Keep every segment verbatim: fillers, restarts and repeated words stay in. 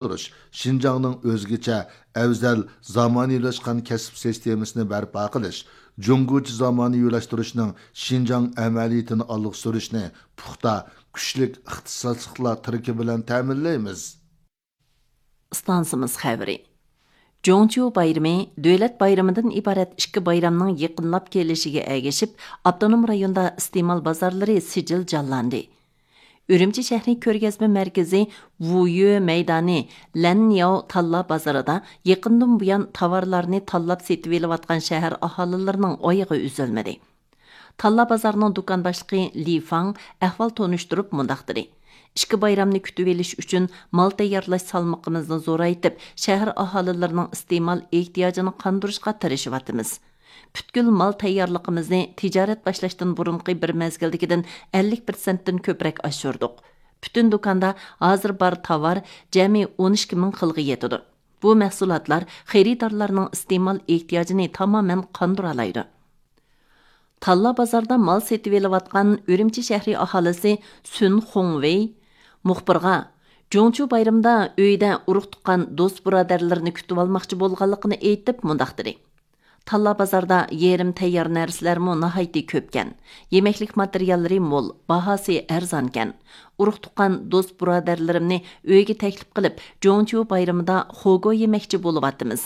تۇرۇش، شىنجاڭنىڭ ئۆزگىچە، ئەۋزەل، زامانىۋىلاشقان كەسىپ سىستېمىسىنى بەرپا قىلىش، جۇڭگوچە زامانىۋىلاشتۇرۇشنىڭ شىنجاڭ ئەمەلىيىتىنى ئالغا سۈرۈشنى پۇختا، كۈچلۈك ئىختىساسلىقلار تىرىكى بىلەن تەمىنلەيمىز. ئىستانسىمىز خەۋىرى. جۇڭچيۇ بايرىمى دۆلەت بايرىمىدىن ئىبارەت ئىككى بايرامنىڭ يېقىنلاپ كېلىشىگە ئەگىشىپ، ئاپتونوم رايوندا ئىستېمال بازارلىرى سىجىل جانلاندى. ئۈرۈمچى شەھىرى كۆرگەزمە مەركىزى ۋۇيۈ مەيدانى لەننياۋ تاللا بازىرىدا يېقىندىن بۇيان تاۋارلارنى تاللاپ سېتىۋېلىۋاتقان شەھەر ئاھالىلىرىنىڭ ئايىغى ئۈزۈلمىدى. تاللا بازارنىڭ دۇكان باشلىقى لى فاڭ ئەھۋال تونۇشتۇرۇپ مۇنداق دېدى: «ئىككى بايرامنى كۈتۈۋېلىش ئۈچۈن مال تەييارلاش سالمىقىمىزنى زورايتىپ، شەھەر ئاھالىلىرىنىڭ ئىستېمال ئېھتىياجىنى قاندۇرۇشقا تىرىشىۋاتىمىز. پۈتكۈل مال تەييارلىقىمىزنى تىجارەت باشلاشتىن بۇرۇنقى بىر مەزگىلدىكىدىن ئەللىك پىرسەنتتىن كۆپرەك ئاشۇردۇق. پۈتۈن دۇكاندا ھازىر بار تاۋار جەمئىي ئون ئىككى مىڭ خىلغا يېتىدۇ. بۇ مەھسۇلاتلار خېرىدارلارنىڭ ئىستېمال ئېھتىياجىنى تامامەن قاندۇرالايدۇ.» تاللا بازاردا مال سېتىۋېلىۋاتقان ئۈرۈمچى شەھىرى ئاھالىسى سۈن خۇڭۋېي مۇخبىرغا جۇڭچيۇ بايرىمىدا ئۆيىدە ئۇرۇق-تۇغقان، دوست-بۇرادەرلىرىنى كۈتۈۋالماقچى بولغانلىقىنى ئېيتىپ مۇنداق دېدى: «تاللا بازاردا يېرىم تەييار نەرسىلەرمۇ ناھايىتى كۆپكەن. يېمەكلىك ماتېرىياللىرى مول، باھاسى ئەرزانكەن. ئۇرۇق-تۇغقان، دوست-بۇرادەرلىرىمنى ئۆيگە تەكلىپ قىلىپ، جۇڭچيۇ بايرىمىدا خوگو يېمەكچى بولۇۋاتىمىز.»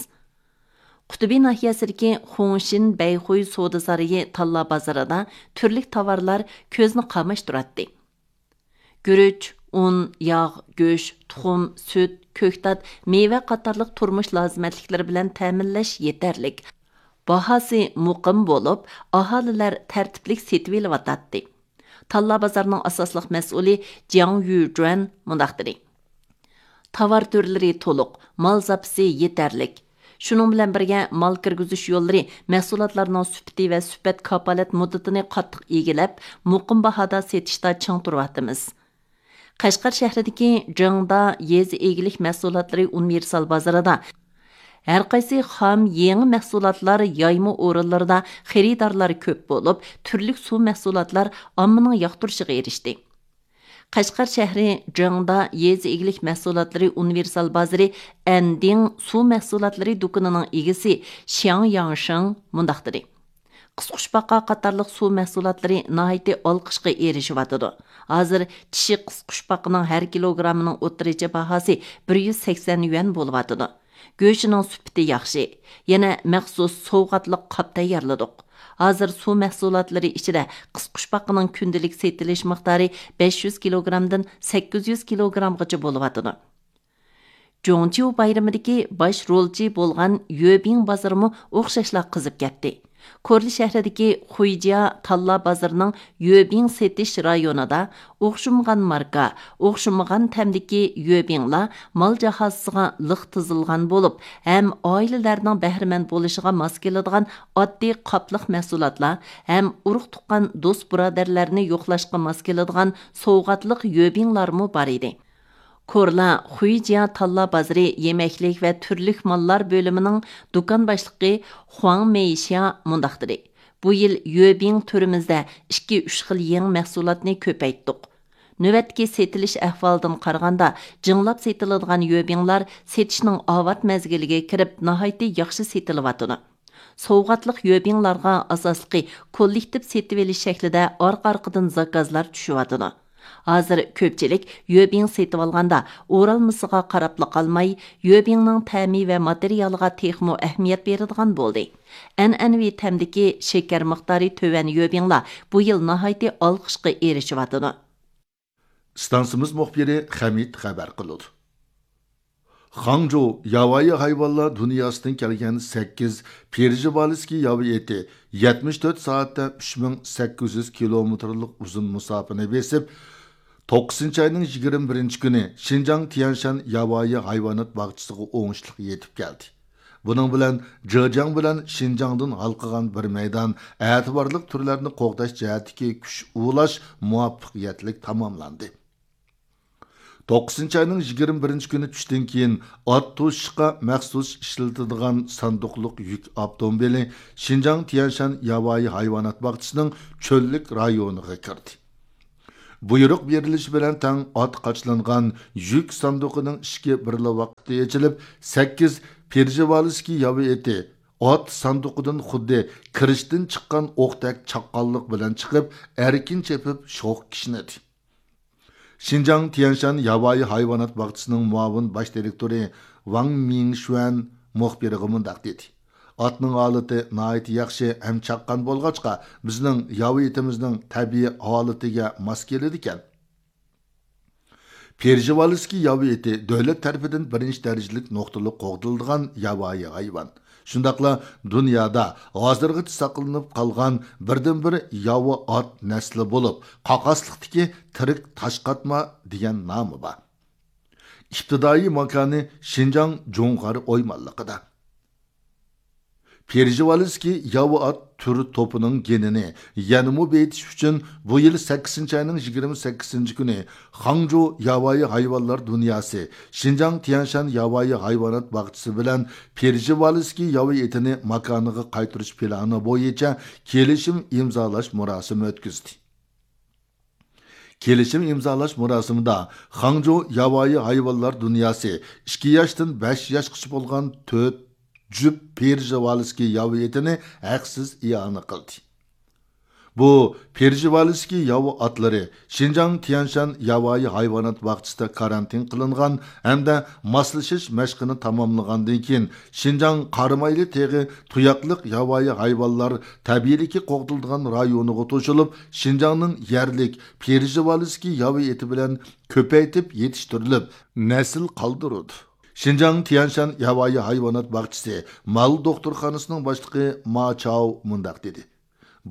قۇتۇبى ناھىيەسىدىكى خۇڭشىن بەيخۇي سودا سارىيى تاللا بازىرىدا تۈرلۈك تاۋارلار كۆزنى قاماشتۇراتتى. گۈرۈچ، ئۇن، ياغ، گۆش، تۇخۇم، سۈت، كۆكتات، مېۋە قاتارلىق تۇرمۇش لازىمەتلىكلىرى بىلەن تەمىنلەش يېتەرلىك. باھاسى مۇقىم بولۇپ، ئاھالىلەر تەرتىپلىك سېتىۋېلىۋاتاتتى. تاللا بازارنىڭ ئاساسلىق مەسئۇلى جياڭ يۈجۈەن مۇنداق دېدى: «تاۋار تۈرلىرى تولۇق، مال زاپىسى يېتەرلىك. شۇنىڭ بىلەن بىرگە، مال كىرگۈزۈش يوللىرى مەھسۇلاتلارنىڭ سۈپىتى ۋە سۈپەت كاپالەت مۇددىتىنى قاتتىق ئىگىلەپ، مۇقىم باھادا سېتىشتا چىڭ تۇرۇۋاتىمىز.» قەشقەر شەھىرىدىكى جېڭدا يېزا ئىگىلىك مەھسۇلاتلىرى ئۇنىۋېرسال بازىرىدا ھەرقايسى خام يېڭى مەھسۇلاتلار يايما ئورۇنلىرىدا خېرىدارلار كۆپ بولۇپ، تۈرلۈك سۇ مەھسۇلاتلار ئاممىنىڭ ياقتۇرۇشىغا ئېرىشتى. قەشقەر شەھىرى جېڭدا يېزا ئىگىلىك مەھسۇلاتلىرى ئۇنىۋېرسال بازىرى ئەندىڭ سۇ مەھسۇلاتلىرى دۇكىنىنىڭ ئىگىسى شياڭ ياڭشىڭ مۇنداق دېدى: «قىسقۇچپاقا قاتارلىق سۇ مەھسۇلاتلىرى ناھايىتى ئالقىشقا ئېرىشىۋاتىدۇ. ھازىر چىشى قىسقۇچپاقىنىڭ ھەر كىلوگراممىنىڭ ئوتتۇرىچە باھاسى بىر يۈز سەكسەن يۈەن بولۇۋاتىدۇ. گۆشىنىڭ سۈپىتى ياخشى. يەنە مەخسۇس سوۋغاتلىق قاپ تەييارلىدۇق. ھازىر سۇ مەھسۇلاتلىرى ئىچىدە قىسقۇچپاقىنىڭ كۈندىلىك سېتىلىش مىقدارى بەش يۈز كىلوگرامدىن سەككىز يۈز كىلوگرامغىچە بولۇۋاتىدۇ.» جۇڭچيۇ بايرىمىدىكى باش رولچى بولغان يۆبىڭ بازىرىمۇ ئوخشاشلا قىزىپ كەتتى. كورلا شەھىرىدىكى خۇيجيا تاللا بازىرىنىڭ يۆبىڭ سېتىش رايونىدا ئوخشىمىغان ماركا، ئوخشىمىغان تەمدىكى يۆبىڭلار مال جاھازىسىغا لىق تىزىلغان بولۇپ، ھەم ئائىلىلەرنىڭ بەھرىمەن بولۇشىغا ماس كېلىدىغان ئاددىي قاپلىق مەھسۇلاتلار ھەم ئۇرۇق-تۇغقان، دوست-بۇرادەرلەرنى يوقلاشقا ماس كېلىدىغان سوۋغاتلىق يۆبىڭلارمۇ بار ئىدى. كورلا خۇيجيا تاللا بازىرى يېمەكلىك ۋە تۈرلۈك ماللار بۆلۈمىنىڭ دۇكان باشلىقى خۇاڭ مېيشيا مۇنداق دېدى: «بۇ يىل يۆبىڭ تۈرىمىزدە ئىككى، ئۈچ خىل يېڭى مەھسۇلاتنى كۆپەيتتۇق. نۆۋەتتىكى سېتىلىش ئەھۋالىدىن قارىغاندا، جىڭلاپ سېتىلىدىغان يۆبىڭلار سېتىشنىڭ ئاۋات مەزگىلىگە كىرىپ، ناھايىتى ياخشى سېتىلىۋاتىدۇ. سوۋغاتلىق يۆبىڭلارغا ئاساسلىقى كوللېكتىپ سېتىۋېلىش شەكلىدە ئارقا-ئارقىدىن زاكازلار چۈشۈۋاتىدۇ. ھازىر كۆپچىلىك يۆبىڭ سېتىۋالغاندا ئورالمىسىغا قاراپلا قالماي، يۆبىڭنىڭ تەمى ۋە ماتېرىيالىغا تېخىمۇ ئەھمىيەت بېرىدىغان بولدى. ئەنئەنىۋى تەمدىكى شېكەر مىقدارى تۆۋەن يۆبىڭلار بۇ يىل ناھايىتى ئالقىشقا ئېرىشىۋاتىدۇ.» ئىستانسىمىز مۇخبىرى خەمىت خەۋەر قىلىدۇ. خاڭجۇ ياۋايى ھايۋانلار دۇنياسىدىن كەلگەن سەككىز پېرژىۋالىسكىي ياۋا ئېتى يەتمىش تۆت سائەتتە ئۈچ مىڭ سەككىز يۈز كىلومېتىرلىق ئۇزۇن مۇساپىنى بېسىپ، توققۇزىنچى ئاينىڭ يىگىرمە بىرىنچى كۈنى شىنجاڭ تيەنشان ياۋايى ھايۋانات باغچىسىغا ئوڭۇشلۇق يېتىپ كەلدى. بۇنىڭ بىلەن جېجياڭ بىلەن شىنجاڭدىن ھالقىغان بىر مەيدان ئەتىۋارلىق تۈرلەرنى قوغداش جەھەتتىكى كۈچ ئۇلاش مۇۋەپپەقىيەتلىك تاماملاندى. توققۇزىنچى ئاينىڭ يىگىرمە بىرىنچى كۈنى چۈشتىن كېيىن ئات توشۇشقا مەخسۇس ئىشلىتىدىغان ساندۇقلۇق يۈك ئاپتوموبىلى شىنجاڭ تيەنشان ياۋايى ھايۋانات باغچىسىنىڭ چۆللۈك رايونىغا كىردى. بۇيرۇق بېرىلىشى بىلەن تەڭ ئات قاچىلانغان يۈك ساندۇقىنىڭ ئىشىكى بىرلا ۋاقىتتا ئېچىلىپ، سەككىز پېرژېۋالسكىي ياۋا ئېتى ئات ساندۇقىدىن خۇددى كىرىچتىن چىققان ئوقتەك چاققانلىق بىلەن چىقىپ، ئەركىن چېپىپ شوخ كىشنىدى. شىنجاڭ تيەنشان ياۋايى ھايۋانات باغچىسىنىڭ مۇئاۋىن باش دىرېكتورى ۋاڭ مىڭشۈەن مۇخبىرغا مۇنداق دېدى: «ئاتنىڭ ھالىتى ناھايىتى ياخشى ھەم چاققان بولغاچقا، بىزنىڭ ياۋا ئېتىمىزنىڭ تەبىئىي ھالىتىگە ماس كېلىدىكەن.» پېرژېۋالسكىي ياۋا ئېتى دۆلەت تەرىپىدىن بىرىنچى دەرىجىلىك نۇقتىلىق قوغدىلىدىغان ياۋايى ھايۋان. شۇنداقلا دۇنيادا ھازىرغىچە ساقلىنىپ قالغان بىردىنبىر ياۋا ئات نەسلى بولۇپ، قاقاسلىقتىكى تىرىك تاشقاتما دېگەن نامى بار. ئىپتىدائىي ماكانى شىنجاڭ جۇڭغار ئويمانلىقىدا. پېرژېۋالسكىي ياۋا ئات تۈر توپىنىڭ گېنىنى يەنىمۇ بېيىتىش ئۈچۈن، بۇ يىل سەككىزىنچى ئاينىڭ يىگىرمە سەككىزىنچى كۈنى خاڭجۇ ياۋايى ھايۋانلار دۇنياسى شىنجاڭ تيەنشان ياۋايى ھايۋانات باغچىسى بىلەن پېرژېۋالسكىي ياۋا ئېتىنى ماكانىغا قايتۇرۇش پىلانى بويىچە كېلىشىم ئىمزالاش مۇراسىمى ئۆتكۈزدى. كېلىشىم ئىمزالاش مۇراسىمىدا خاڭجۇ ياۋايى ھايۋانلار دۇنياسى ئىككى ياشتىن بەش ياشقىچە بولغان تۆت جۈپ پېرژېۋالسكىي ياۋا ئېتىنى ھەقسىز ئىئانە قىلدى. بۇ پېرژېۋالسكىي ياۋا ئاتلىرى شىنجاڭ تيەنشان ياۋايى ھايۋانات باغچىسىدا كارانتىن قىلىنغان ھەمدە ماسلىشىش مەشقىنى تاماملىغاندىن كېيىن، شىنجاڭ قارامايلى تېغى تۇياقلىق ياۋايى ھايۋانلار تەبىئىيلىكى قوغدىلىدىغان رايونىغا توشۇلۇپ، شىنجاڭنىڭ يەرلىك پېرژېۋالسكىي ياۋا ئېتى بىلەن كۆپەيتىپ يېتىشتۈرۈلۈپ، نەسىل قالدۇرىدۇ. شىنجاڭ تيەنشان ياۋايى ھايۋانات باغچىسى مال دوختۇرخانىسىنىڭ باشلىقى ما چاۋ مۇنداق دېدى: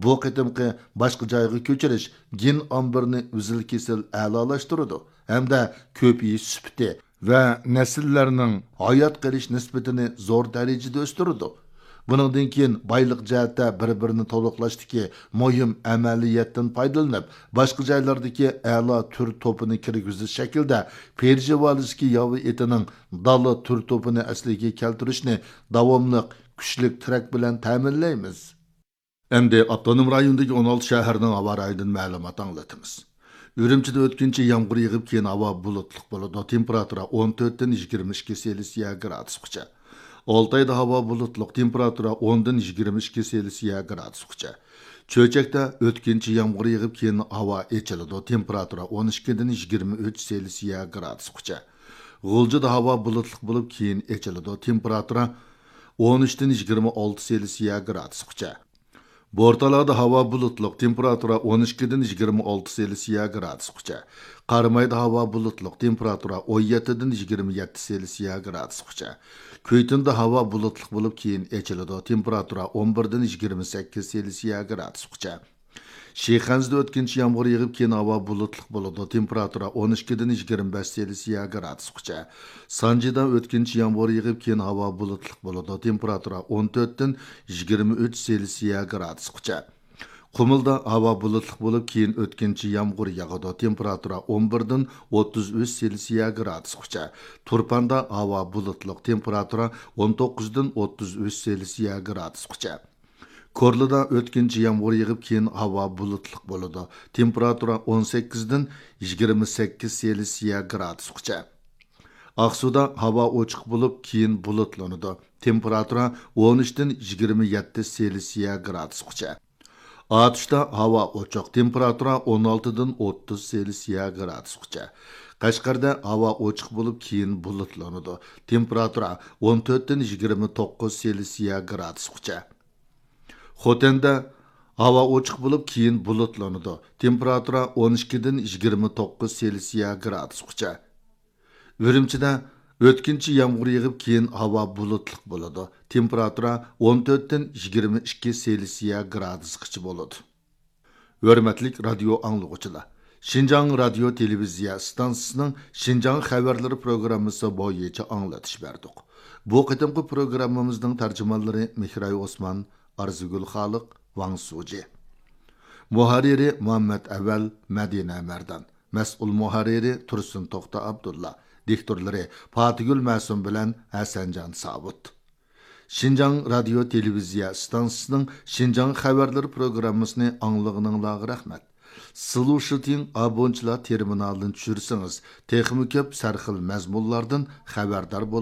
«بۇ قېتىمقى باشقا جايغا كۆچۈرۈش گېن ئامبىرىنى ئۈزۈل-كېسىل ئەلالاشتۇرىدۇ ھەمدە كۆپىيىش سۈپىتى ۋە نەسىللەرنىڭ ھايات قېلىش نىسبىتىنى زور دەرىجىدە ئۆستۈرىدۇ. بۇنىڭدىن كېيىن بايلىق جەھەتتە بىر-بىرىنى تولۇقلاشتىكى مۇھىم ئەمەلىيەتتىن پايدىلىنىپ، باشقا جايلاردىكى ئەلا تۈر توپىنى كىرگۈزۈش شەكلىدە پېرژېۋالسكىي ياۋا ئېتىنىڭ دالا تۈر توپىنى ئەسلىگە كەلتۈرۈشنى داۋاملىق كۈچلۈك تىرەك بىلەن تەمىنلەيمىز.» ئەمدى ئاپتونوم رايوندىكى ئون ئالتە شەھەرنىڭ ھاۋا رايىدىن مەلۇمات ئاڭلىتىمىز. ئۈرۈمچىدە ئۆتكۈنچى يامغۇر يېغىپ، كېيىن ھاۋا بۇلۇتلۇق بولىدۇ. تېمپېراتۇرا ئون تۆتتىن يىگىرمە ئىككى سېلسىيە گرادۇسقىچە. ئالتايدا ھاۋا بۇلۇتلۇق، تېمپېراتۇرا ئوندىن يىگىرمە ئىككى سېلسىيە گرادۇسقىچە. چۆچەكتە ئۆتكۈنچى يامغۇر يېغىپ، كېيىن ھاۋا ئېچىلىدۇ. تېمپېراتۇرا ئون ئىككىدىن يىگىرمە ئۈچ سېلسىيە گرادۇسقىچە. غۇلجىدا ھاۋا بۇلۇتلۇق بولۇپ، كېيىن ئېچىلىدۇ. تېمپېراتۇرا ئون ئۈچتىن يىگىرمە ئالتە سېلسىيە گرادۇسقىچە. بورتالادا ھاۋا بۇلۇتلۇق، تېمپېراتۇرا ئون ئىككىدىن يىگىرمە ئالتە سېلسىيە گرادۇسقىچە. قارامايدا ھاۋا بۇلۇتلۇق، تېمپېراتۇرا ئون يەتتىدىن يىگىرمە يەتتە سېلسىيە گرادۇسقىچە. كۈيتۇندا ھاۋا بۇلۇتلۇق بولۇپ، كېيىن ئېچىلىدۇ، تېمپېراتۇرا ئون بىردىن يىگىرمە سەككىز سېلسىيە گرادۇسقىچە. شىخەنزىدە ئۆتكۈنچى يامغۇر يېغىپ، كېيىن ھاۋا بۇلۇتلۇق بولىدۇ، تېمپېراتۇرا ئون ئىككىدىن يىگىرمە بەش سېلسىيە گرادۇسقىچە. سانجىدا ئۆتكۈنچى يامغۇر يېغىپ، كېيىن ھاۋا بۇلۇتلۇق بولىدۇ، تېمپېراتۇرا ئون تۆتتىن يىگىرمە ئۈچ سېلسىيە گرادۇسقىچە. قۇمۇلدا ھاۋا بۇلۇتلۇق بولۇپ، كېيىن ئۆتكۈنچى يامغۇر ياغىدۇ، تېمپېراتۇرا ئون بىردىن ئوتتۇز ئۈچ سېلسىيە گرادۇسقىچە. تۇرپاندا ھاۋا بۇلۇتلۇق، تېمپېراتۇرا ئون توققۇزدىن ئوتتۇز ئۈچ سېلسىيە گرادۇسقىچە. كورلىدا ئۆتكۈنچى يامغۇر يېغىپ، كېيىن ھاۋا بۇلۇتلۇق بولىدۇ، تېمپېراتۇرا ئون سەككىزدىن يىگىرمە سەككىز سېلسىيە گرادۇسقىچە. ئاقسۇدا ھاۋا ئوچۇق بولۇپ، كېيىن بۇلۇتلىنىدۇ، تېمپېراتۇرا ئون ئۈچتىن يىگىرمە يەتتە سېلسىيە گرادۇسقىچە. ئاتۇشتا ھاۋا ئوچۇق، تېمپېراتۇرا ئون ئالتىدىن ئوتتۇز سېلسىيە گرادۇسقىچە. قەشقەردە ھاۋا ئوچۇق بولۇپ، كېيىن بۇلۇتلىنىدۇ، تېمپېراتۇرا ئون تۆتتىن يىگىرمە توققۇز سېلسىيە گرادۇسقىچە. خوتەندە ھاۋا ئوچۇق بولۇپ، كېيىن بۇلۇتلىنىدۇ، تېمپېراتۇرا ئون ئىككىدىن يىگىرمە توققۇز سېلسىيە گرادۇسقىچە. ئۈرۈمچىدە ئۆتكۈنچى يامغۇر يېغىپ، كېيىن ھاۋا بۇلۇتلۇق بولىدۇ، تېمپېراتۇرا ئون تۆتتىن يىگىرمە ئىككى سېلسىيە گرادۇسقىچە بولىدۇ. ھۆرمەتلىك رادىيو ئاڭلىغۇچىلار! شىنجاڭ رادىيو تېلېۋىزىيە ئىستانسىسىنىڭ شىنجاڭ خەۋەرلىرى پروگراممىسى بويىچە ئاڭلىتىش بەردۇق. بۇ قېتىمقى پروگراممىمىزنىڭ تەرجىمانلىرى مېھراي ئوسمان، ئارزۇگۈل خالىق، ۋاڭ سۇجى. مۇھەررىرى مۇھەممەت ئەۋەل، مەدىنە مەردان. مەسئۇل مۇھەررىرى تۇرسۇن توختى ئابدۇللا. دىكتورلىرى پاتىگۈل مەسۇم بىلەن ھەسەنجان ساۋۇت. شىنجاڭ رادىيو تېلېۋىزىيە ئىستانسىسىنىڭ شىنجاڭ خەۋەرلىرى پروگراممىسىنى ئاڭلىغىنىڭلارغا رەھمەت. سلۇشىتىڭ ئابونتچىلار تېرمىنالىنى چۈشۈرسىڭىز، تېخىمۇ كۆپ سەرخىل مەزمۇنلاردىن خەۋەردار بولىسىز.